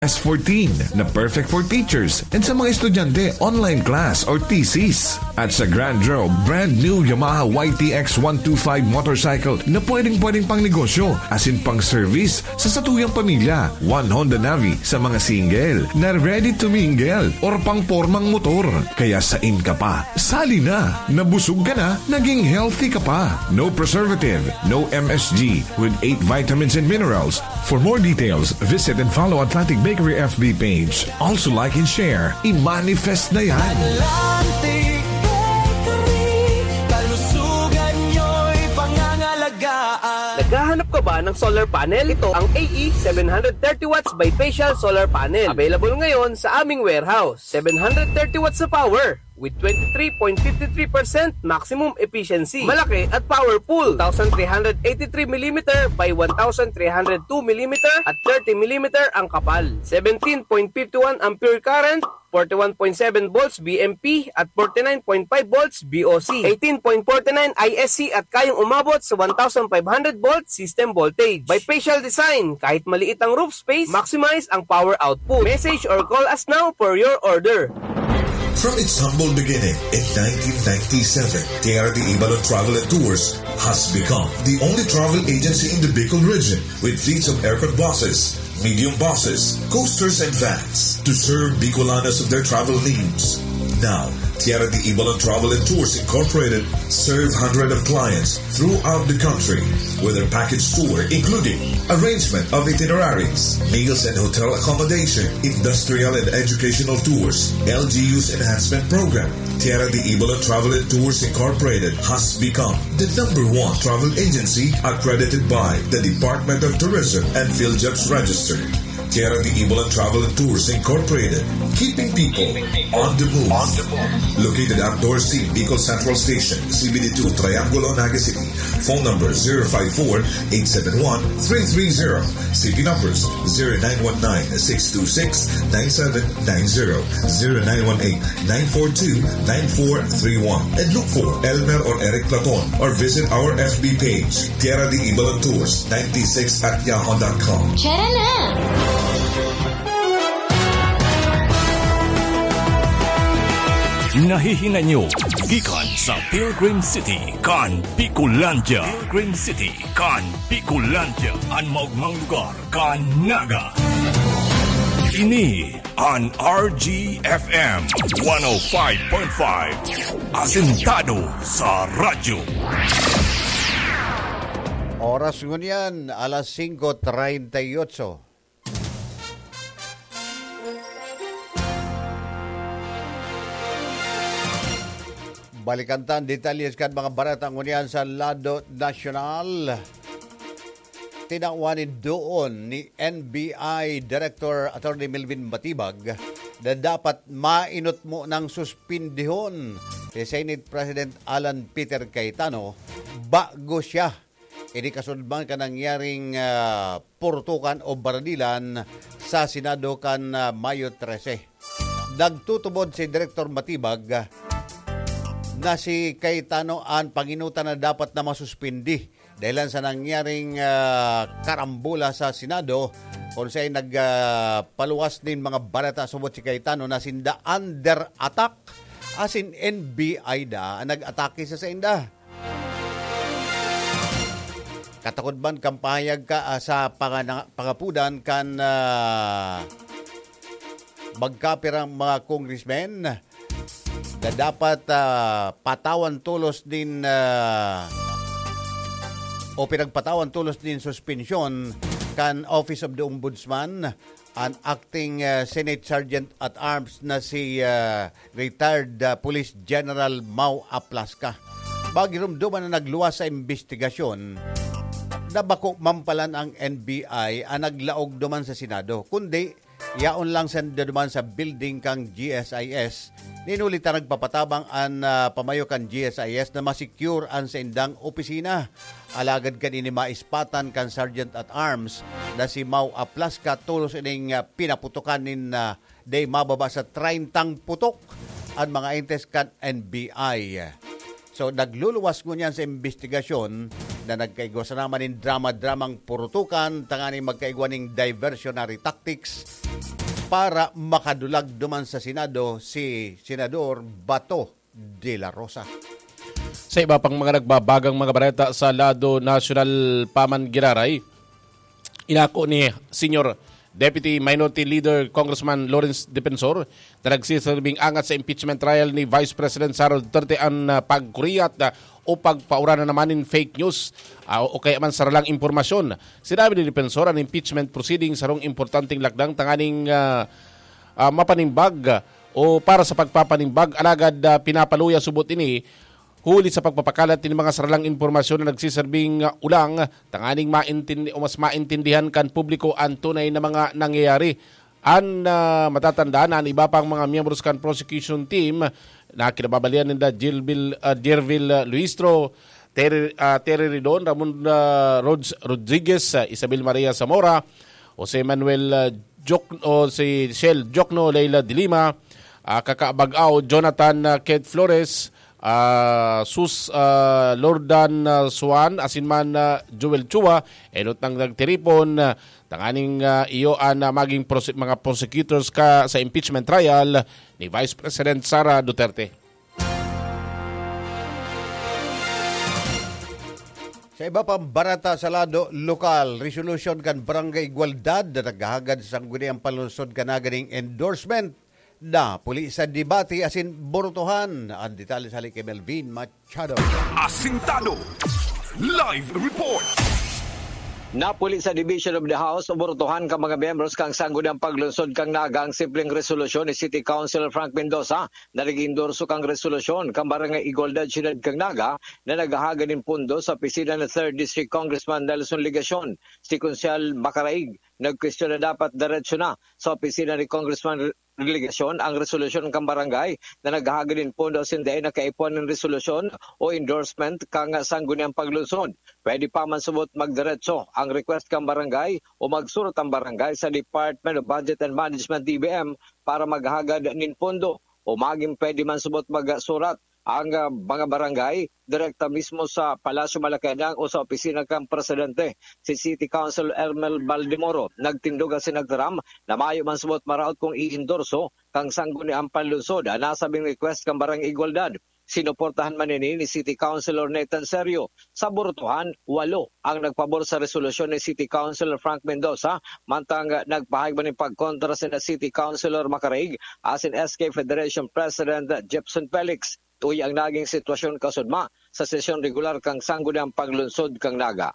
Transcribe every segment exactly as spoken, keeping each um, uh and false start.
S fourteen na perfect for teachers and sa mga estudyante, online class or thesis. At sa Grandro, brand new Yamaha Y T X one two five motorcycle na pwedeng-pwedeng pang negosyo, asin pang service sa satuyang pamilya. One Honda Navi sa mga single na ready to mingle or pang pormang motor. Kaya sain ka pa, sali na! Nabusog ka na, naging healthy ka pa. No preservative, no M S G, with eight vitamins and minerals. For more details, visit and follow Atlantic Bakery F B page. Also like and share. I-manifest na yan. Atlantic Bakery, kalusugan nyo'y pangangalagaan. Naghahanap ka ba ng solar panel? Ito ang A E seven hundred thirty watts bifacial solar panel. Available ngayon sa aming warehouse. Seven hundred thirty watts na power with twenty-three point five three percent maximum efficiency. Malaki at powerful. Two thousand three hundred eighty-three millimeter by one thousand three hundred two millimeter at thirty millimeter ang kapal. Seventeen point five one ampere current, forty-one point seven volts V M P at forty-nine point five volts V O C. Eighteen point forty-nine I S C at kayang umabot sa one thousand five hundred volt system voltage. Bifacial design, kahit maliit ang roof space, maximize ang power output. Message or call us now for your order. From its humble beginning in nineteen ninety-seven, T R D Ibalon Travel and Tours has become the only travel agency in the Bicol region with fleets of aircon buses, medium buses, coasters, and vans to serve Bicolanos of their travel needs. Now, Tierra de Ibalon Travel and Tours Incorporated serve hundreds of clients throughout the country with their package tour, including arrangement of itineraries, meals and hotel accommodation, industrial and educational tours, L G U's enhancement program. Tierra de Ibalon Travel and Tours Incorporated has become the number one travel agency accredited by the Department of Tourism and PhilJobs Register. Tierra de Ibalon Travel and Tours Incorporated, keeping people on the move. Located at Dorothy Bicol Central Station, C B D two, Triangulo, Naga City. Phone number zero five four, eight seven one, three three zero. City numbers zero nine one nine, six two six, nine seven nine zero, zero nine one eight, nine four two, nine four three one. And look for Elmer or Eric Platon or visit our F B page, Tierra de Ibalon Tours ninety-six at yahoo dot com. Tara na! Nahihinay nyo gikan sa Pilgrim City kan Bicolandia. Pilgrim City kan Bicolandia, an maogmang lugar kan Naga. Ini an R G F M one oh five point five, asentado sa radyo. Oras ngunyan, alas singko treinta y ocho. Balikan ta an detalye kan mga bareta ngunyan sa lado nasyonal. Tinawan nin duon ni N B I Director Attorney Melvin Matibag na dapat mainot mo nang suspindihon si Senate President Alan Peter Cayetano bago siya ini kasunod man kan nangyaring, ah, purtukan o baranilan sa Senado kan, ah, Mayo trese. Nagtutubod si Director Matibag na si Cayetano an panginutan na dapat na masuspindi dahilan sa nangyaring, ah, karambola sa Senado, kung saan nag, ah, paluwas nin mga bareta subot si Cayetano na sinda under attack, asin N B I da an nag-atake sa sainda. Katakod man kan pahayag ka, ah, sa pangana-, pangapudan kan, ah, magkapirang mga congressmen na dapat, ah, patawan tolos nin, ah, o pinagpatawan tolos nin suspensyon kan Office of the Ombudsman an acting, ah, Senate Sergeant at Arms na si, ah, retired, ah, Police General Mau Aplasca. Magirumduman na nagluwas sa imbestigasyon na bako man palan ang N B I ang naglaog duman sa Senado, kundi yaon lang sanda duman sa building kan G S I S. Nin huli ta nagpapatabang an, ah, pamayo kan G S I S na ma-secure an saindang opisina. Alagad kan ini maispatan kan Sergeant at Arms na si Mau Aplasca, tolos ining, ah, pinaputokan nin, ah, dai mababa sa treintang putok an mga agentes kan N B I. So, nagluluwas ngunyan sa imbestigasyon na nagkaigwa sana man nin drama-dramang purutukan tanganing magkaigwa ning diversionary tactics para makadulag duman sa Senado si Senador Bato de la Rosa. Sa iba pang mga nagbabagang mga bareta sa lado nasyonal pa man giraray, inako ni Senior Deputy Minority Leader Congressman Lawrence Defensor na nagsisilbing angat sa impeachment trial ni Vice President Sara Duterte an, ah, pagkuriyat, ah, o pagpaura na naman nin fake news, ah, o kaya man saralang impormasyon. Sinabi ni Defensor, an impeachment proceeding sarong importanteng lakdang tanganing, ah, ah, mapanimbag, ah, o para sa pagpapanimbag, alagad, ah, pinapaluya subot ini huli sa pagpapakalat nin mga saralang impormasyon na nagsiserbing, ah, ulang tanganing maintindi-, o mas maintindihan kan publiko an tunay na mga nangyayari. An, ah, matatandaan na an iba pang mga miyembros kan prosecution team na kinababalian ninda Gilbil-, ah, Gervil, ah, Luistro, Terry, ah, Terry Ridon, Ramon, ah, Rods Rodriguez, ah, Isabel Maria Zamora, Jose Manuel, ah, Joc-, o si Shell Jocno, Leila de Lima, ah, Kaka Bagao, Jonathan, ah, Ked Flores, ah, Sus, ah, Lordan, ah, Suan, asin man, ah, Joel Chua, enot nang nagtiripon, ah, tanganing, ah, iyo an, ah, maging prose-, mga prosecutors ka sa impeachment trial ni Vice President Sara Duterte. Sa iba pang bareta sa lado lokal, resolusyon kan Barangay Igualdad na naghahagad sa Sangguniang Panlungsod kan naganing endorsement na puli sa debate asin burutuhan. Ang detalye sa hali kay Melvin Machado. Asintado. Live report. Napuli sa Division of the House o burutuhan kan mga miyembros kan Sangguniang Paglunsod kan Naga ang simpleng resolusyon ni City Councilor Frank Mendoza na nag-endorso kan resolusyon kan Barangay Igualdad, Siyudad kan Naga, na naghahagad nin pondo sa opisina ni Third District Congressman Nelson Legacion. Si Konsehal Macaraig nagkwestiyon na dapat diretso na sa opisina ni Congressman Legacion ang resolusyon kan barangay na naghahagad nin pondo asin dai na kaipuhan nin resolusyon o endorsement kan Sangguniang Paglunsod. Pwede pa man subot magdiretso ang request kan barangay o magsurat ang barangay sa Department of Budget and Management, D B M, para maghagad nin pondo, o magin pwede man subot magsurat ang, ah, mga barangay direkta mismo sa Palasyo Malacañang o sa opisina kan presidente. Si City Council Ermel Baldemoro nagtindog asin nagtaram na mayo man subot maraot kung iendorso kan Sangguniang Panlungsod an nasabing request kan Barangay Igualdad. Sinuportahan man ini ni City Councilor Nathan Serio. Sa burutuhan, walo ang nagpabor sa resolusyon ni City Councilor Frank Mendoza, mantang nagpahayag man nin pagkontra sina City Councilor Macaraig asin S K Federation President Jepson Felix. Tuya ang naging sitwasyon kasudma sa sesyon regular kan Sangguniang Paglunsod kan Naga.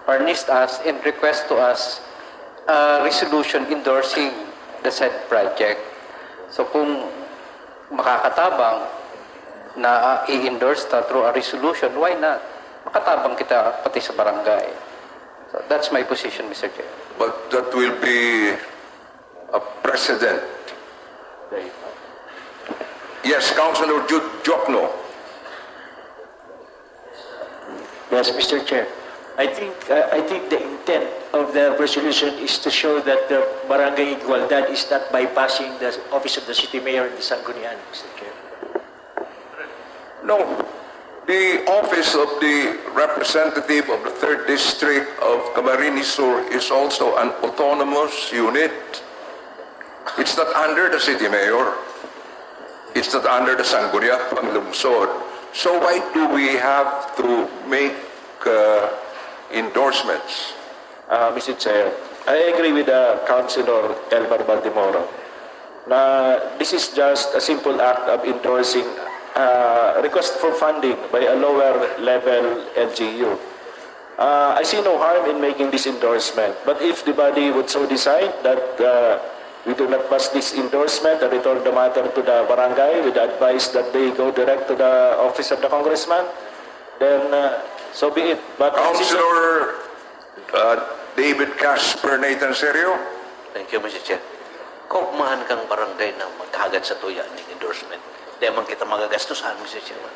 Furnished us and request to us a resolution endorsing the said project. So kung makakatabang na i-endorse ta through a resolution, why not? Makatabang kita pati sa barangay. So that's my position, Mister Chair. But that will be a precedent. Yes, Councilor Jude Jokno. Yes, Mister Chair. I think uh, I think the intent of the resolution is to show that the Barangay Igualdad is not bypassing the office of the city mayor in the Sangguniang, Mister Chair. No, the office of the representative of the third district of Camarines Sur is also an autonomous unit. It's not under the city mayor. It's not under the Sangguniang Panlungsod. So why do we have to make uh, endorsements? Uh, Mister Chair, I agree with uh, Councilor Elmer Baldemoro na this is just a simple act of endorsing uh, request for funding by a lower level L G U. Uh, I see no harm in making this endorsement, but if the body would so decide that uh, we do not pass this endorsement and return the matter to the barangay with the advice that they go direct to the office of the congressman, then uh, so be it. But Councilor uh, David Casper Nathan Serio. Thank you, Mister Chair. Kaugmahan kang barangay na maghagad sa tuya ning endorsement. Di man kita magagastusan, Mister Chairman.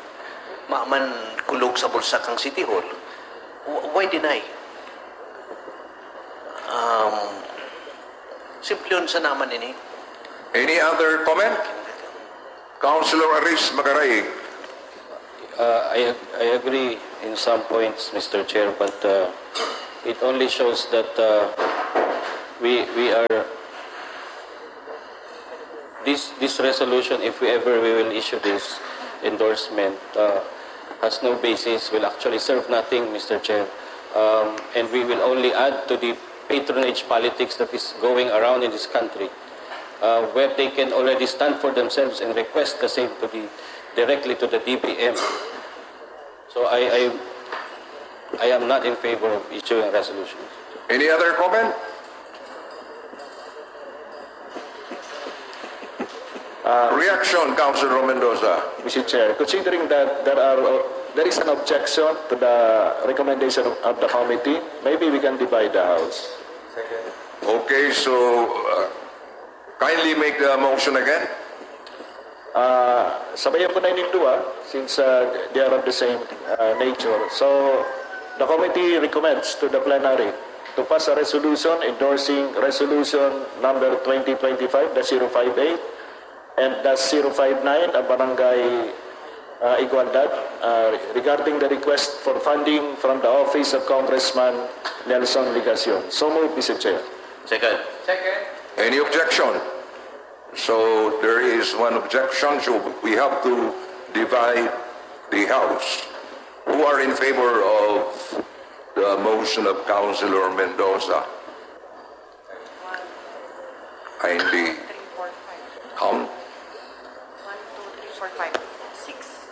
Maman kulog sa bulsa kang City Hall. Why deny? Um, simple yun sa naman ini. Any other comment? Councilor Aris Magaraig. Uh, I, I agree in some points, Mister Chair, but uh, it only shows that uh, we we are this this resolution, if we ever we will issue this endorsement, uh, has no basis, will actually serve nothing, Mister Chair, um, and we will only add to the patronage politics that is going around in this country, uh, where they can already stand for themselves and request the same to the directly to the D B M. So I, I, I am not in favor of issuing a resolution. Any other comment? Uh, reaction, Councilor Mendoza. Mister Chair, considering that there are uh, there is an objection to the recommendation of, of the committee, maybe we can divide the house. Okay, so uh, kindly make the motion again. Uh, sabayan ko na ining duwa since uh, they are of the same uh, nature. So, the committee recommends to the plenary to pass a resolution endorsing resolution number twenty twenty-five dash zero five eight and dash zero five nine of Barangay uh, Igualdad uh, regarding the request for funding from the office of Congressman Nelson Legacion. So moved, Mister Chair. Second. Any objection? So there is one objection, so we have to divide the house. Who are in favor of the motion of Councilor Mendoza? Kindly count. One, two, three, four, five, six.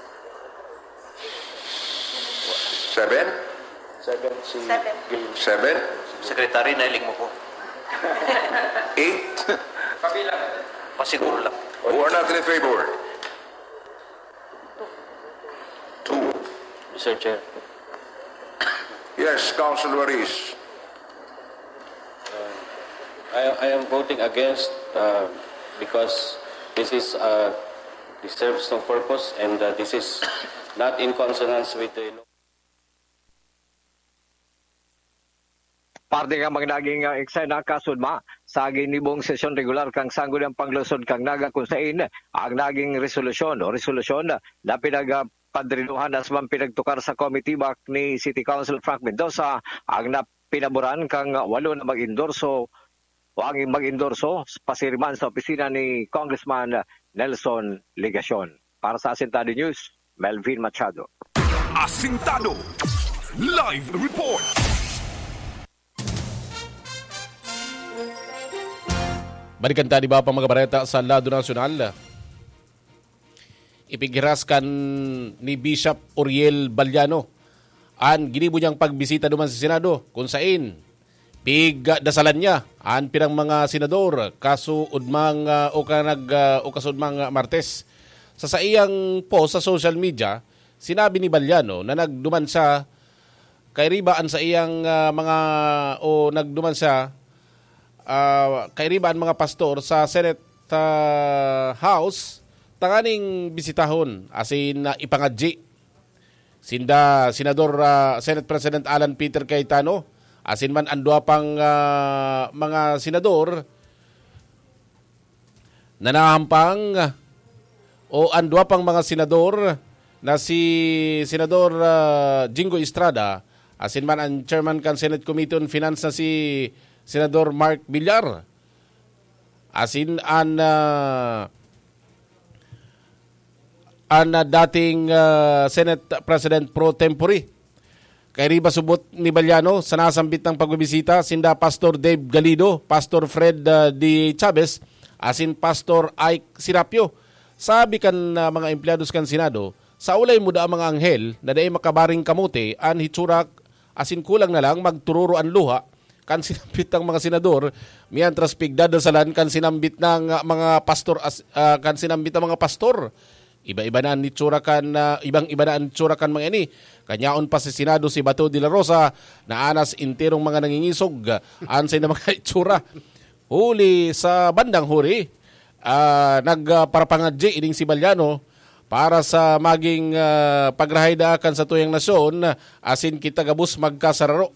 Seven? Seven si Seven. Gail. Seven? Secretary, nailing mo ko. Eight? Pasiguro lang. Who are not in favor? Two. Mister Chair, Yes, Councilor Ruiz. I, I am voting against uh, because this is uh, this serves no purpose and uh, this is not in consonance with the law. Parte nga mga naging uh, eksena kasudma sa ginibong sesyon regular kan Sangguniang Panglungsod kan Naga, kun sain ang naging resolusyon o resolusyon na pinagpadrinuhan asin pinagtukar sa komitiba ni City Council Frank Mendoza ang napinaboran kan walo na mag-endorso o ang mag-endorso pasiriman sa opisina ni Congressman Nelson Legacion. Para sa Asintado News, Melvin Machado. Asintado Live Report. Balikan ta an iba pang mga bareta sa lado nasyonal. Ipighiras kan ni Bishop Oriel Baliano an ginibo niyang pagbisita duman sa Senado, kun sain pigdasalan niya an pirang mga senador kasuodmang, ah, o kanag, ah, o kasuodmang, ah, Martes. Sa saiyang post sa social media, sinabi ni Baliano na nagduman siya kairiba an saiyang, ah, mga o nagduman siya, ah, kairiba an mga pastor sa Senate, ah, House tanganing bisitahon asin, ah, ipangadyi sinda Senador, ah, Senate President Alan Peter Cayetano asin man an duwa pang, ah, mga senador na nahampang o an duwa pang mga senador na si Senador, ah, Jinggoy Estrada asin man an chairman kan Senate Committee on Finance na si Senador Mark Villar asin an, ah, an, ah, dating, ah, Senate President pro tempore. Kairiba subot ni Baliano sa nasambit na pagbibisita sinda Pastor Dave Galido, Pastor Fred, ah, D. Chavez, asin Pastor Ike Serapio. Sabi kan, ah, mga empleyados kan Senado, sa ulay muda ang mga anghel na dai makabaring kamote an hitsura asin kulang na lang magtururo an luha kan sinambit na mga senador, mientras pigdadasalan kan sinambit na mga pastor as, ah, kan sinambit na mga pastor. Iba-iba na an itsura kan, ah, ibang-iba na an itsura kan mga ini. Kanyaon pa sa Senado si Bato de la Rosa na anas enterong mga nangingisog an saindang mga itsura. Huli sa bandang huri, ah, nagparapangadyi ining si Baliano para sa maging, ah, pagrahay daa kan satuyang nasyon asin kita gabos magkasararo.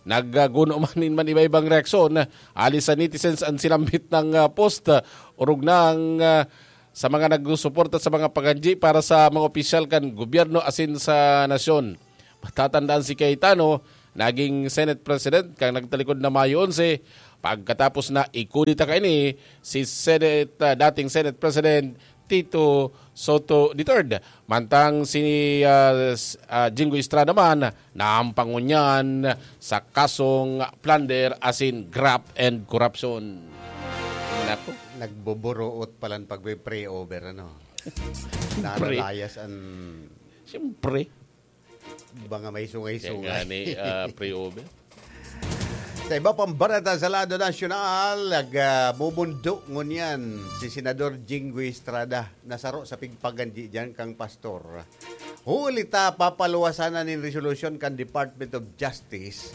Nagguno man nin man iba-ibang reaksyon hali sa netizens an sinambit na, ah, post, ah, orog na ang, ah, sa mga nagsusuporta sa mga pagadyi para sa mga opisyal kan gobyerno asin sa nasyon. Matatandaan si Cayetano, naging Senate President kan nagtalikod na Mayo onse, pagkatapos na ikudeta kaini si Senate, ah, dating Senate President Tito Soto the third. Mantang si, ah, s-, ah, Jinggoy Estrada man, naampangon niyan sa kasong plunder asin graft and corruption. Nako. Nagbuburuot palan pag may pre-over, ano? Siyempre. Naralayas an Siyempre. Mga may sungay-sungay. Kaya nga ni, ah, pre-over. Sa iba pang bareta sa lado nasyonal, nag, ah, mumundo ngunyan si Senador Jinggoy Estrada na saro sa pigpaganji diyan kang pastor. Huli ta papaluwasan na nin resolusyon kan Department of Justice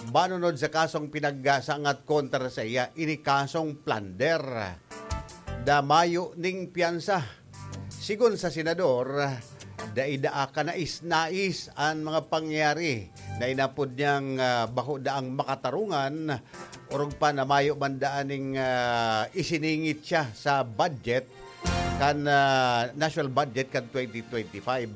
banunod sa kasong pinagsangat kontra sa iya, ini kasong plunder. Da mayo ning piyansa. Sigon sa senador, dai daa kanais-nais an mga pangyayari na inapod niyang, ah, bako daang makatarungan, orog pa na mayo man daan ning, ah, isiningit siya sa budget kan, ah, national budget kan twenty twenty-five.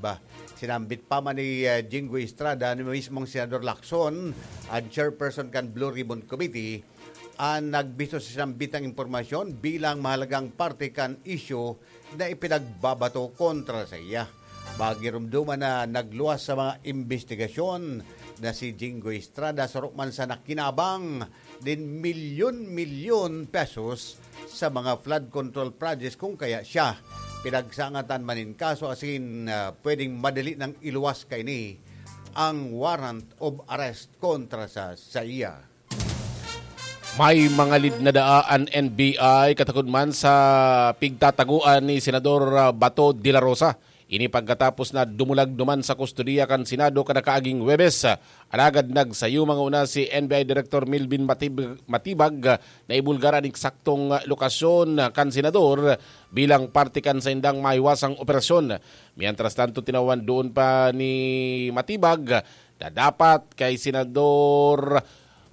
Sinambit pa man ni, ah, Jinggoy Estrada ni mismong Senador Lacson, ang chairperson kan Blue Ribbon Committee, an nagbisto sa sinambitang impormasyon bilang mahalagang parte kan isyu na ipinagbabato kontra sa iya. Magirumduman na nagluwas sa mga imbestigasyon na si Jinggoy Estrada saro man sa nakinabang nin milyon-milyon pesos sa mga flood control projects, kung kaya siya pinagsangatan man nin kaso asin, ah, pwedeng madali nang iluwas kaini ang warrant of arrest kontra sa, sa iya. May mga lead na daa an N B I katakod man sa pigtataguan ni Senador, ah, Bato de la Rosa. Ini pagkatapos na dumulag duman sa kustodiya kan Senado kada kaaging Huwebes. Alagad nagsayo manguna si N B I Director Melvin Matib-, Matibag na ibulgar an eksaktong lokasyon kan senador bilang parte kan saindang mahiwasang operasyon. Mientras tanto, tinawan doon pa ni Matibag na dapat kay Senador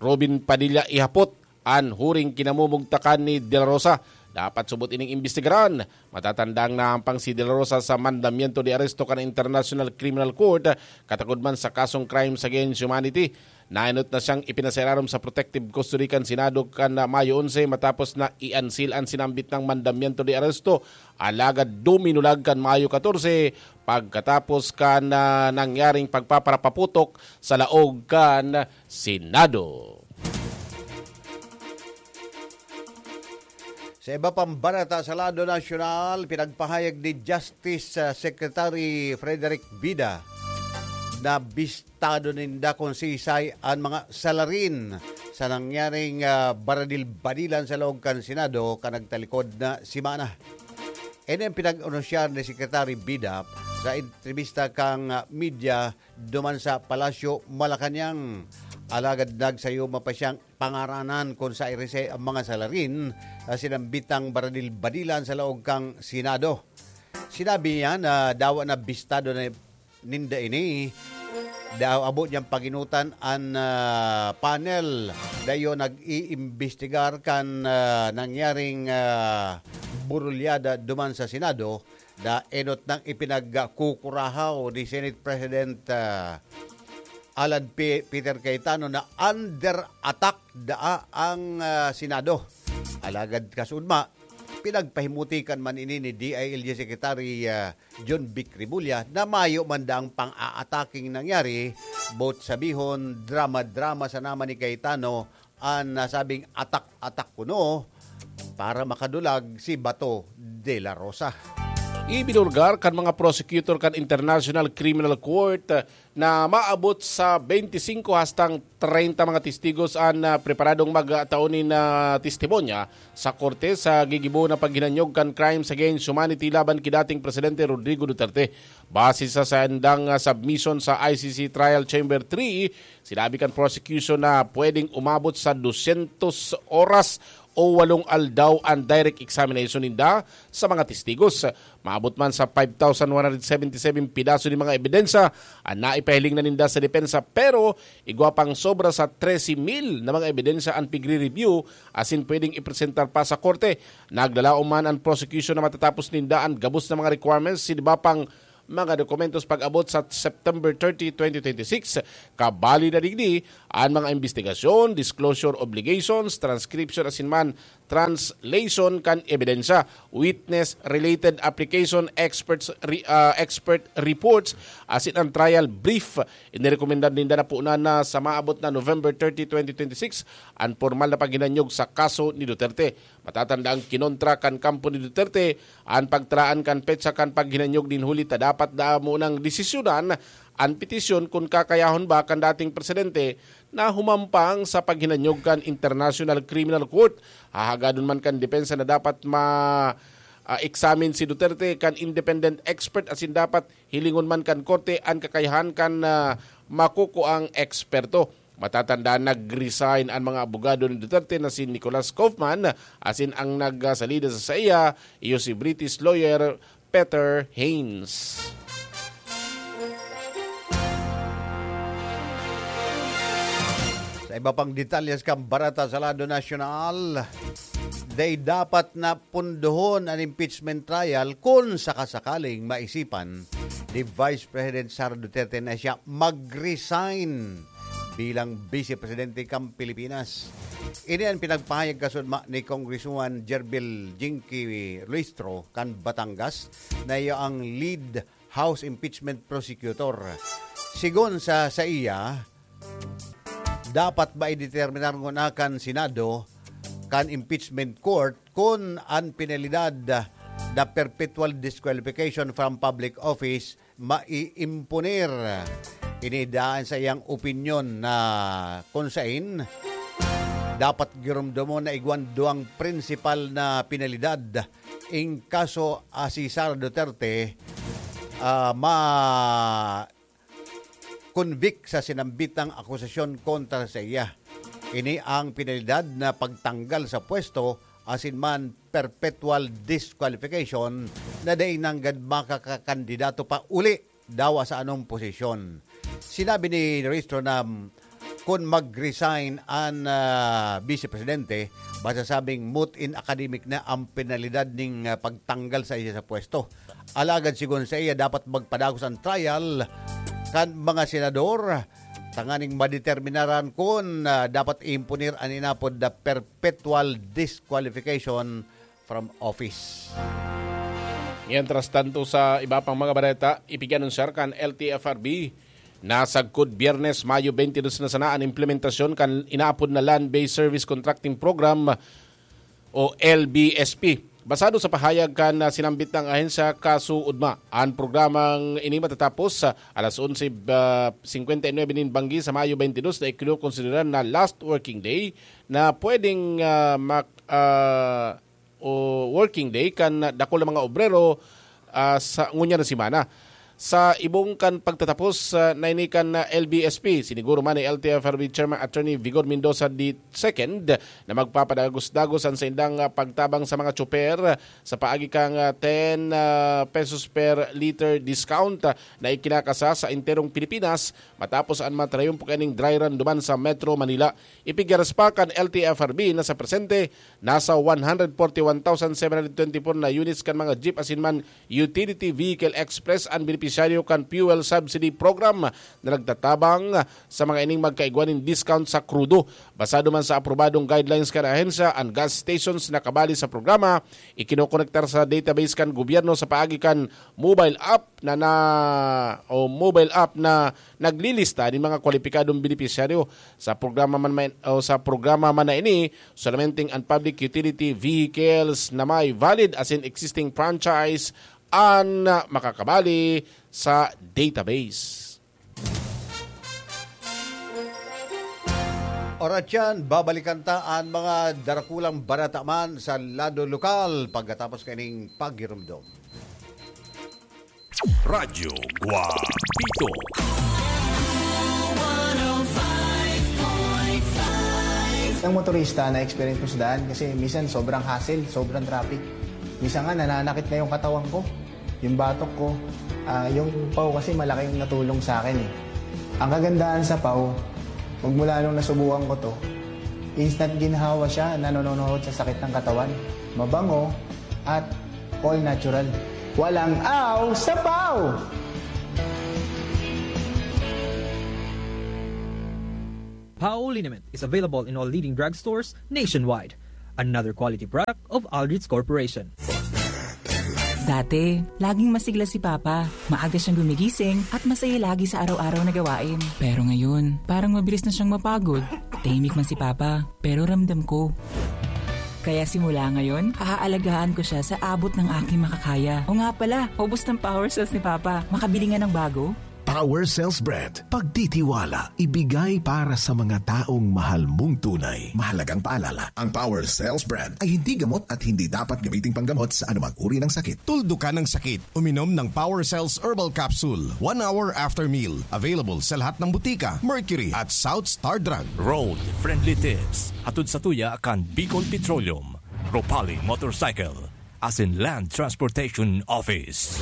Robin Padilla ihapot an huring kinamumugtakan ni De La Rosa. Dapat subot ining imbestigaran. Matatandang nahampang si De La Rosa sa mandamiento de aresto kan International Criminal Court, katakod man sa kasong crimes against humanity. Naenot na siyang ipinasararom sa protective custody kan Senado kan Mayo onse matapos na i-unseal an sinambit nang mandamiento de aresto. Alagad duminulag kan Mayo katorse pagkatapos kan, ah, nangyaring pagpaparapaputok sa laog kan Senado. Sa iba pang bareta sa lado nasyonal, pinagpahayag ni Justice, ah, Secretary Frederick Vida na bistado ninda kung sisay an mga salarin sa nangyaring, ah, baradil-badilan sa laog kan Senado kan nagtalikod na semana. Ini ang pinag-anunsiyar ni Secretary Vida sa entrevista kan, ah, media duman sa Palasyo, Malacañang. Alagad nagsayuma pa siyang pangaranan kun sairese ang mga salarin sa sinambitang baradil-badilan sa laog kan Senado. Sinabi niya na dawa na bistado na ninda ini, daw abo niyang paginutan an, ah, panel na iyo nag-iimbestigar kan, ah, nangyaring, ah, burulyada duman sa Senado, na enot nang ipinagkukurahaw ni Senate President, ah, Alan P-, Peter Cayetano na under attack daa ang, ah, Senado. Alagad kasudma, pinagpahimutikan man ini ni D I L G Secretary, ah, John Vic Remulla na mayo man daang pang-aataking nangyari, boot sabihon, drama-drama sa naman ni Cayetano an nasabing atak-atak kuno para makadulag si Bato de la Rosa. Ibinulgar kan mga prosecutor kan International Criminal Court na maabot sa twenty-five hastang treinta mga testigos an, ah, preparadong magtao nin, ah, testimonya sa korte sa gigibo na paghinanyog kan crimes against humanity laban ki dating Presidente Rodrigo Duterte. Base sa sandang, ah, submission sa I C C Trial Chamber three, sinabi kan prosecution na pwedeng umabot sa dusyentos oras o walong aldaw an direct examination ninda sa mga testigos. Maabot man sa five thousand one hundred seventy-seven pidaso nin mga ebidensya an naipahiling na ninda sa depensa, pero igwa pang sobra sa trese mil na mga ebidensya an pigre-review asin pwedeng ipresentar pa sa korte. Naglalaom man an prosecution na matatapos ninda an gabos na mga requirements sa iba pang mga dokumentos pag-abot sa September thirty, twenty twenty-six. Kabali na digdi an mga imbestigasyon, disclosure obligations, transcription asin man translation kan ebidensya, witness-related application, experts re-, ah, expert reports, asin ang trial brief. Inirekomendar ninda na punan na sa maabot na November thirty, twenty twenty-six, an pormal na paghinanyog sa kaso ni Duterte. Matatandaan, kinontra kan kampo ni Duterte an pagtaraan kan petsa kan paghinanyog nin huli ta dapat da munang desisyonan an petisyon kun kakayahon ba kan dating presidente na humampang sa paghinanyog kan International Criminal Court. Hahagadon man kan depensa na dapat ma, ah, examine si Duterte kan independent expert asin dapat hilingon man kan korte an kakayahan kan, ah, makukuang eksperto. Matatandaan, nag-resign an mga abogado ni Duterte na si Nicolas Kaufman asin ang nagsalida sa saiya iyo si British lawyer Peter Haynes. Sa iba pang detalyes kan bareta sa lado nasyonal, day dapat na pundohon an impeachment trial kun sakasakaling maisipan ni Vice President Sara Duterte na siya mag-resign bilang Vice Presidente kan Pilipinas. Ini an pinagpahayag kasunod ni Congresswoman Gerbil Jinky Luistro kan Batangas, na iya ang lead House impeachment prosecutor. Sigon sa saiya, dapat ba ideterminar nguna kan Senado, kan impeachment court, kun an penalidad na perpetual disqualification from public office maiimponer? Ini daan sa iyang opinyon na kun sain dapat giromdomon na igwan duwang prinsipal na penalidad in kaso a si Sara Duterte, ah, ma-convict sa sinambitang akusasyon kontra sa iya. Ini ang penalidad na pagtanggal sa pwesto asin man perpetual disqualification na dai nanggad makakakandidato pa uli dawa sa anong posisyon. Sinabi ni Ristro na, mm, kun mag-resign an, ah, Vice Presidente, masasabing moot in academic na ang penalidad ning, ah, pagtanggal sa iya sa pwesto. Alagad sigon sa iya, dapat magpadagos ang trial kan mga senador tanganing madeterminaran kun, ah, dapat imponer an inapod na perpetual disqualification from office. Mientras tanto, sa iba pang mga bareta, ipig-anunsiyar kan L T F R B na sagkod Biyernes, Mayo twenty-two na sana an implementasyon kan inaapod na Land-Based Service Contracting Program o L B S P. Basado sa pahayag kan, ah, sinambit na ahensya, kasuodma an programang ini matatapos sa alas onse, ah, singkwenta y nuebe nin banggi sa Mayo twenty-two na ikinokonsidera na last working day na pwedeng, ah, mak-, ah, o working day kan dakul na mga obrero, ah, sa ngunyan na semana. Sa ibong kan pagtatapos, ah, na ini kan, ah, L B S P, siniguro man ni L T F R B Chairman Attorney Vigor Mendoza the second na magpapadagos-dagos an saindang, ah, pagtabang sa mga tsoper sa paagi kan, ah, ten, ah, pesos per liter discount, ah, na ikinakasa sa enterong Pilipinas matapos an matrayumpo kaning dry run duman sa Metro Manila. Ipigaras pa kan L T F R B na sa presente, nasa one hundred forty-one thousand seven hundred twenty-four na units kan mga jeep asin man utility vehicle express an benepisyaryo kan fuel subsidy program na nagtatabang sa mga ining magkaigwa nin discount sa krudo. Basado man sa aprobadong guidelines kan ahensya, an gas stations na kabali sa programa ikinokonektar sa database kan gobyerno sa paagi kan mobile app na, na, o mobile app na naglilista nin mga kwalipikadong benepisyaryo. Sa programa man, man, o sa programa man na ini, solamente an public utility vehicles na may valid asin existing franchise an makakabali sa database. Oras yan, babalikan ta an mga darakulang bareta man sa lado lokal pagkatapos kaning paghiromdom. Radyo Guapito. Ng motorista na experience ko sa daan kasi minsan sobrang hassle, sobrang traffic. Minsan nga nananakit na yung katawan ko, yung batok ko. Ah, yung paw kasi malaking natulong sa akin eh. Ang kagandahan sa paw, magmula nung nasubukan ko to, instant ginhawa siya na nanonohod sa sakit ng katawan. Mabango at all natural. Walang aw sa paw! Pao liniment is available in all leading drugstores nationwide. Another quality product of Aldrich Corporation. Dati, laging masigla si Papa. Maaga siyang gumigising at masaya lagi sa araw-araw na gawain. Pero ngayon, parang mabilis na siyang mapagod. Tahimik man si Papa, pero ramdam ko. Kaya simula ngayon, aaalagaan ko siya sa abot ng aking makakaya. O nga pala, ubos ng power cells ni Papa. Makabili nga ng bago? Power Cells Brand. Pagtitiwala, ibigay para sa mga taong mahal mong tunay. Mahalagang paalala, ang Power Cells Brand ay hindi gamot at hindi dapat gamiting panggamot sa anumang uri ng sakit. Tuldukan ang sakit. Uminom ng Power Cells Herbal Capsule one hour after meal. Available sa lahat ng butika, Mercury at South Star Drug. Road Friendly Tips. Hatod sa tuya kan Bicol Petroleum, Ropali Motorcycle, asin Land Transportation Office.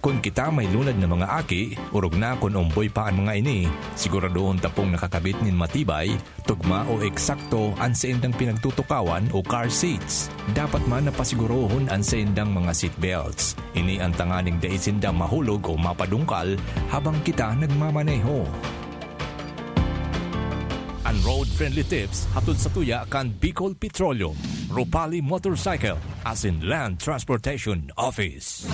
Kun kita may lunad na mga aki, orog na kun omboy pa an mga ini, siguradohon ta pong nakakabit nin matibay, tugma o eksakto an saindang pinagtutukawan o car seats. Dapat man na pasigurohon an saindang mga seat belts. Ini an tanganing dai sinda mahulog o mapadungkal habang kita nagmamaneho. An Road Friendly Tips hatod sa tuya kan Bicol Petroleum, Ropali Motorcycle, asin Land Transportation Office.